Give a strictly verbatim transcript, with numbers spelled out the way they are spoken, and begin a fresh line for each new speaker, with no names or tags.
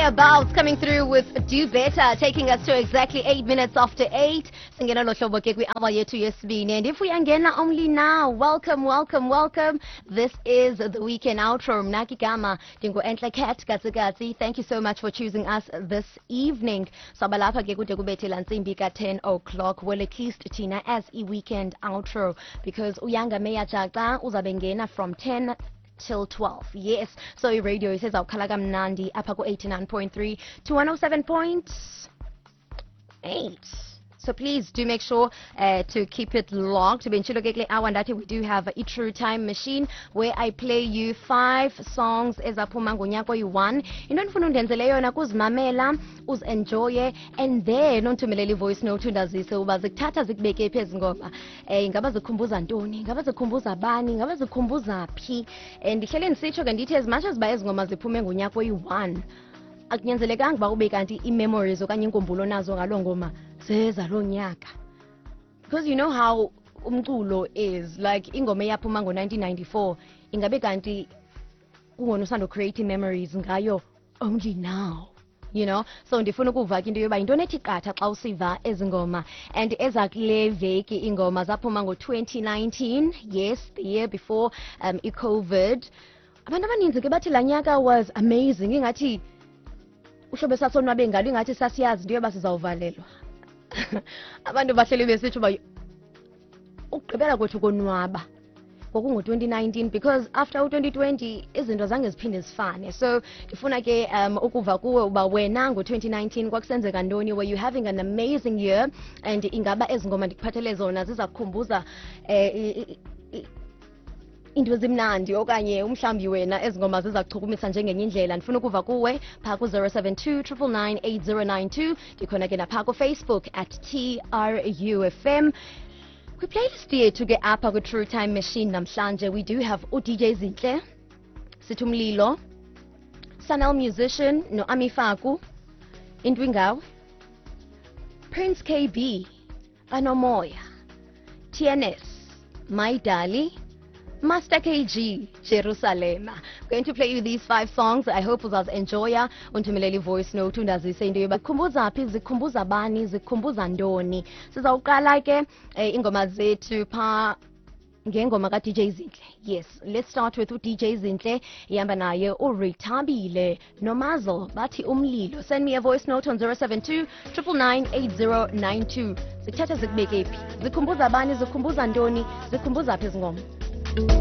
About coming through with Do Better, taking us to exactly eight minutes after eight. Singena lo hlobo ke kwi-hour yethu yesibini. And if uyangena only now, welcome, welcome, welcome. This is the weekend outro. Mna ke igama ndingu Enhle Cat Katsikatsi. Thank you so much for choosing us this evening. Sabalapha ke kude kubethe laa ntsimbi ka ten o'clock. Well, at least thina as i-weekend outro, because uYanga Meya Jaca uzabe ngena from ten till twelve. Yes, so i-radio isezawukhala kamnandi apha ku-eighty-nine point three to one oh seven point eight. So please do make sure uh, to keep it locked. Benditshilo ke kule hour ndathi we do have a True Time Machine where I play you five songs ezaphuma ngonyaka oyi-one. Into endifuna undenzele yona kuzimamela, uzi-enjoye, and then undithumelele i-voice note undazise uba zikuthatha zikubeke phi ezi ngoma. Eh, ingaba zikhumbuza ntoni? Ingaba zikhumbuza bani? Ingaba zikhumbuza phi? Eh, ndihlele ndisitsho ke ndithi as much as uba ezi ngoma ziphume ngonyaka oyi-one, akunyanzelekanga uba ube kanti ii-memories okanye iinkumbulo nazo ngaloo ngoma zezaloo nyaka, because you know how umculo is like, ingoma eyaphuma ngo-nineteen ninety-four ingabe kanti kungona usando create memories ngayo only now you know So ndifuna ukuva ke into yoba yintoni ethi qatha xa usiva ezi ngoma. And ezakule veki iingoma zaphuma ngo-twenty nineteen, yes, the year before um i-COVID. Abantu abaninzi ke bathi laa nyaka was amazing, ingathi uhlobo esasonwabe ngalo, ingathi sasiyazi into yoba sizawuvalelwa. Abantu bahleli besitsho uba ukugqibela kwethu konwaba kwakungo-twenty nineteen, because after u-twenty twenty izinto zange ziphinde zifane. So ndifuna ke um ukuva kuwe uba wena ngo-twenty nineteen kwakusenzeka ntoni. Were you having an amazing year? And ingaba ezi ngoma ndikuphathele zona ziza kukhumbuza um into ezimnandi, okanye umhlawumbi wena ezi ngoma ziza kuchukumisa njengenye indlela? Ndifuna ukuva kuwe phaa ku-zero seven two nine nine nine eight zero nine two. Ndikhona ke naphaa kuFacebook at T R U F M. Kwiplaylist yethu ke apha kwi-True Time Machine namhlanje we do have u-D J Zinhle, sithi Umlilo, Sanel Musician no-Ami Faku, Into Ingawe, Prince K B, Banomoya, T N S, My Dali, Master K G, Jerusalema. Going to play you these five songs. I hope uzazi-enjoya. Undithumelele voice note undazise into yoba zikhumbuza phi, zikhumbuza bani, zikhumbuza ntoni. Sizawuqala ke eh, ingoma zethu phaa ngengoma ka-D J Zinhle. Yes, let's start with u-D J Zinhle. Ihamba naye uRithabile noMazel, bathi Umlilo. Send me a voice note on zero seven two nine nine nine eight zero nine two. Zikuthatha zikubeke phi? Zikhumbuza bani? Zikhumbuza ntoni? Zikhumbuza phi ezi ngoma?